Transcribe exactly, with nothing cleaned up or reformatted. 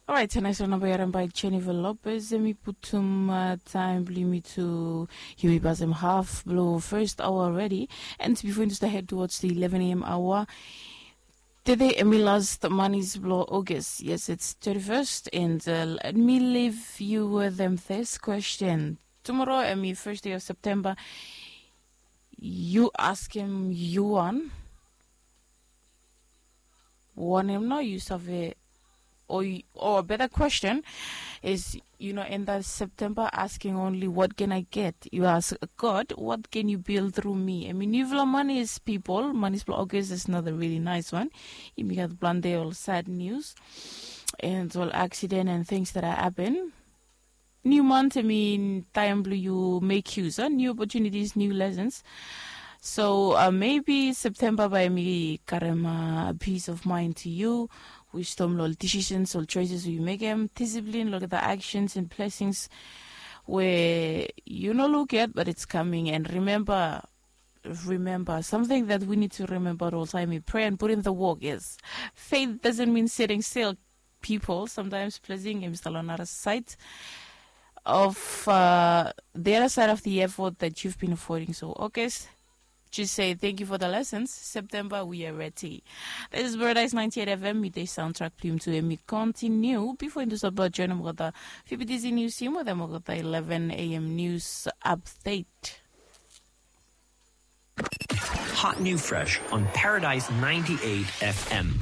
Orait, nais wan namba i harim bai Jennifer Lopez, em i putum taim bilong yumi tu yumi pasim haf bilong first hour already. And before you start head towards the eleven a.m. hour, today em i last manis bilong August. Yes, it's thirty-first, and let me leave you with them this question. Tomorrow em i first day of September. You ask him you one wanem nao yu save? Or, or a better question is, you know, in that September, asking only what can I get? You ask God, what can you build through me? I mean, yufala manis people, manis bilong August is another really nice one. Yumi gat planti ol sad news and ol accident and things that are happen. New month, I mean, taim bilong yu make use, uh, new opportunities, new lessons. So uh, maybe September bai mi karim uh, peace of mind to you. Wisdom lo ol decisions, ol choices we make em, discipline lo the actions and blessings where you no look at, but it's coming. And remember, remember something that we need to remember all time. We pray and put in the work. Yes, faith doesn't mean sitting still. People, sometimes blessing em stalo another side of uh, the other side of the effort that you've been affording. So August, just say thank you for the lessons. September, we are ready. This is Paradise ninety-eight F M, midday soundtrack plum to Emi continue. Before into support join Mogota, F B T Z news team with Mogota eleven a.m. news update. Hot new fresh on Paradise ninety-eight F M.